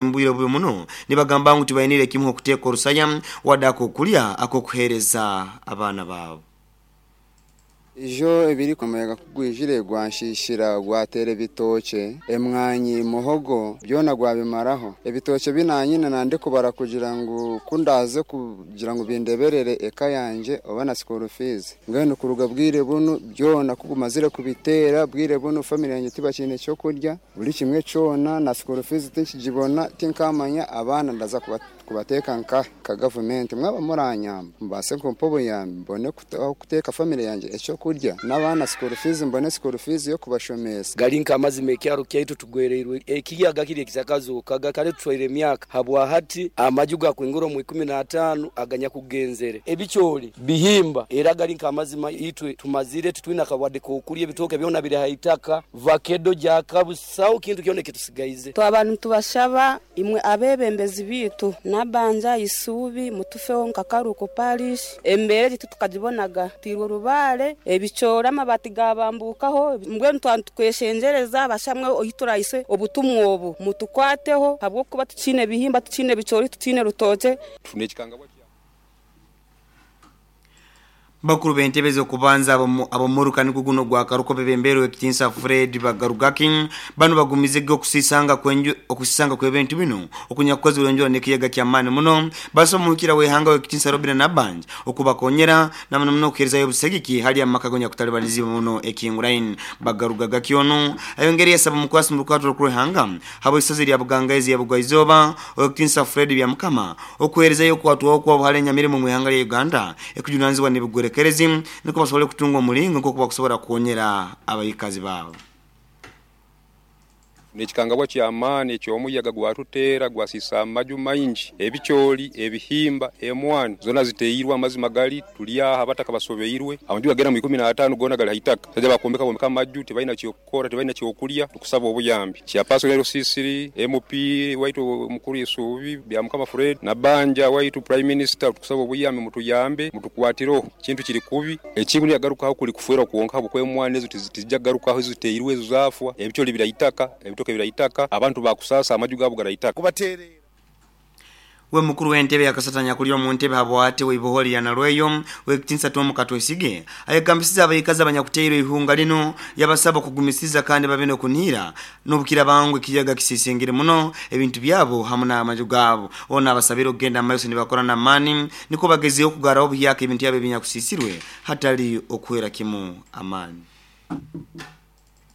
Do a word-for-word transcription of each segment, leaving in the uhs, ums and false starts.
Mbwire bubi muno nibagamba ngu tibainire kimu okuteeka orusaya wadde akokulya akokuheereza abaana baabo. Ijo ebiri omuyaga kugwijire gwanshishira, gwatera ebitookye, emwanyi, muhogo, byona gwabimaraho. Ebitookye binanyine nandikubara kugira ngu kundaze kugira ngu bindeberere eka yangye oba na school fees. Mbwenu kuruga bwire bunu byona kubumazire kubiteera, bwire bunu family yangye tibakiine ekyokurya, buri kimwe kyona, na school fees tinkigibona, tinkamanya abaana ndaza kubateeka nkahe. Nka gavumenti mwaba muranyamba mubaase kumpa obuyambi mbone aho kuteeka family yangye ekyokurya n'abaana school fees, mbone school fees y'okubashomesa. Gali nk'amazima, ekyaro kyaitu tugwereirwe ekiyaga kiri ekisakazokaga kale tutwaire emyaka habwa hati amaju gakwingura omu ikumi n'ataano aganyakugenzere, ebikyoli bihimba, era gali nk'amazima itwe tumazire titwina kawadde k'okulya, ebitooke byona biri haitaka, vakedo jakabusaho, kintu kyona ekitusigaize. Twaba nitubashaba imwe abebembezi biitu, Nabanja, Isuubi, mutufeho nka Karuuko Parish. Embeera egi titukagibonaga, twirwe orubaare, ebicoori, amabati gabambukaho. Mbwenu twaba nitukweshengyereza bashamwe ohi turahise obutumwa obu, mutukwateho habw'okuba tukiine bihimba, tukiine bicoori, tukiine rutookye. Bakuru b'entebe z'okubanza ab'omuruka nigwo guno gwa Karuko bebemberwe Ekitinsa Fred Bagarugaki bano bagumize okusisanga kwenju okusisanga kw'ebintu bino okunyakukozirwe enjura n'ekiyaga ky'amaani muno. Basaba omuhikira w'ihanga w'Ekitinsa Robina Nabanja okubakonyera na muno muno okuheerezayo obusegiki hali amaka gonyakutalibanizibwa muno ekinguraini. Bagarugagaki ono ayongere yasaba omukwasi mu rukwatiro rw'ihanga habw'isaza lya Bugangaizi ya Bugwaizooba Owekitinsa Fred Byamukama okuheerezayo okwatwaho kwa buhare enyamirimo mu ihanga lya Uganda ekujunanizibwa n'ebigwerekerezi niko basobole kutunga omulingo nk'oku bakusobora kukonyera abaikazi baabo. N'ekikangabwa ky'amaani eky'omuyaga gwatuteera, gwasiisa amaju maingi, ebicooli, ebihimba, emwani zoona ziteirwe. Amazima gali tuli aha abataka basobeirwe, amaju gagera mu ikumi n'ataano goona gali haitaka. Baija bakombeka bombeka amaju, tibalina kyokukora, tibalina kyokulya. Tukusaba obuyambi chairperson L C three, M P waitu omukuru Isuubi Byamukama Fred, Nabanja waitu, Prime Minister, tukusaba obuyambi, mutuyambe, mutukwatireho, kintu kiri kubi. Ekintu niyagarukaho kuli kufwerwa kwonka, habwokuba emwani ezo tizijja kugarukaho, eziteirwe ezo zafwa, ebicooli biraitaka, ebitoke biraitaka, abantu bakusasa amaju gaabo garaitaka. Kubateerera. We mukuru w'entebe yakasatanya kuli omu ntebe habwate w'iboholi ya Nalweyo Wekitinsa Tom Katwesige ayegambisiza abaikazi abanyakuteirwe ihunga lino, yabasaba okugumisiza kandi babe n'okunihira n'obukira bangu ekiyaga kisisingire muno ebintu byabo hamu n'amaju gaabo. Ono abasabire okugenda mumaiso nibakora n'amaani niko bagezeho okugaraho obuhyaka ebintu byabo ebinyakusisirwe hatali okuhwera kimu amaani.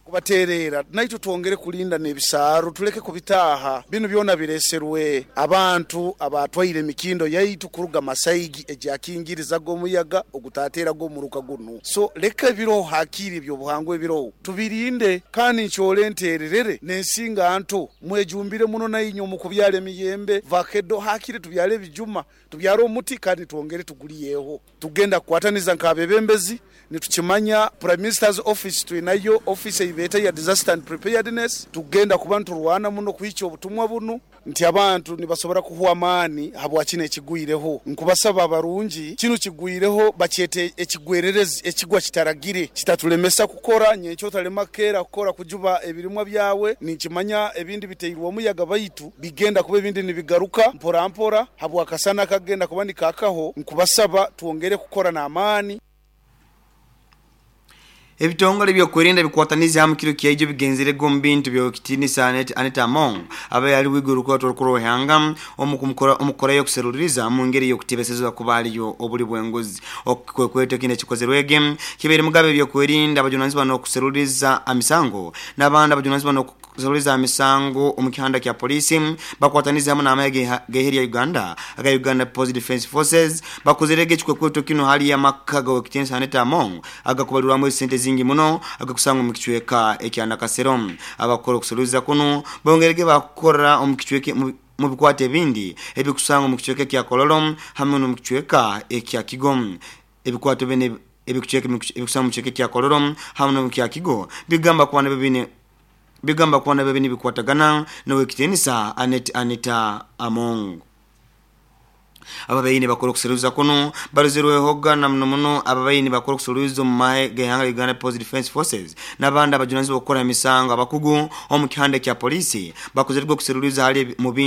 Kubateerera naitwe twongere kulinda n'ebisaaru, tuleke kubitaaha. Binu byona bireserwe abantu abatwaire emikindo yaitu kuruga Masaigi egyakingirizaga omuyaga ogutateeraga omuruka gunu. So leka ebiroho hakiri ebyobuhangwa ebiroho tubirinde, kandi nkyole ntererere n'ensinga nto, mwejumbire muno nainywe omu kubyara emiyembe, vakedo, hakiri tubyare ebijuma, tubyare omuti kandi twongere tuguliyeho. Tugenda kukwataniza nk'abebembezi, nitukimanya Prime Minister's office twinayo office eibeeta ya disaster and preparedness. Tugenda kuba niturwana muno kuhikya obutumwa bunu nti abantu nibasobora kuhwa amaani habwa kino ekigwireho. Nkubasaba abarungi, kinu kigwireho bakyete ekigwererezi, ekigwa kitaragire kitatulemesa kukora. Nyenkya otalema kukeera kukora kujuba ebirimwa byawe. Ninkimanya ebindi biteirwe omuyaga, baitu bigenda kuba ebindi nibigaruka mpora mpora habwakasana kagenda kuba nikakaho. Nkubasaba twongere kukora n'amaani. Ebitongole ebyokwerinda bikwatanize hamu kiro kyaijo bigenzerega omu bintu byokitinisa Anita Among aba yali wiguru rukwatwa rukuru rw'ihanga omukukorayo okuseruliriza mu ngeri y'okutebesezebwa kuba aliyo obuli bw'enguzi. Okwekweta kino ekikozerwege kibaire mugabe ebyokwerinda abajunanizibwa n'okuseruliriza emisango n'abandi abajunanizibwa n'okuseruliriza emisango omu kihanda kya polisi bakwatanize hamu n'amahe g'eihe lya Uganda aga Uganda People's Defence Forces bakozerege ekikwekweto kino hali amaka g'owekitinisa Anita Among agakubalirwamu esente zingi muno agakusangwa omu kicweka ekya Nakasero. Abakora okuseruliza kuno bongerege bakukora omu kicweka mu bikwata ebindi ebikusangwa omu kicweka ekya Kololo hamwe n'omu kicweka ekya Kigo. Ebikwato bine ebikucweka ebikusangwa omu kicweka ekya Kololo hamwe n'omu kya Kigo bigamba kuba nabyo bine bigamba kuba nabyo bine bikwatagana n'owekitinisa Anita Among. Ababaini bakora okuseruza kuno barozerwehoga na muno muno ababaini bakora okuseruza omu mahe g'ihanga Uganda People's Defence Forces n'abandi abajunanizibwa okukora emisango. Abakugu omu kihanda kya polisi bakozerwe okuseruliza hali mu bintu.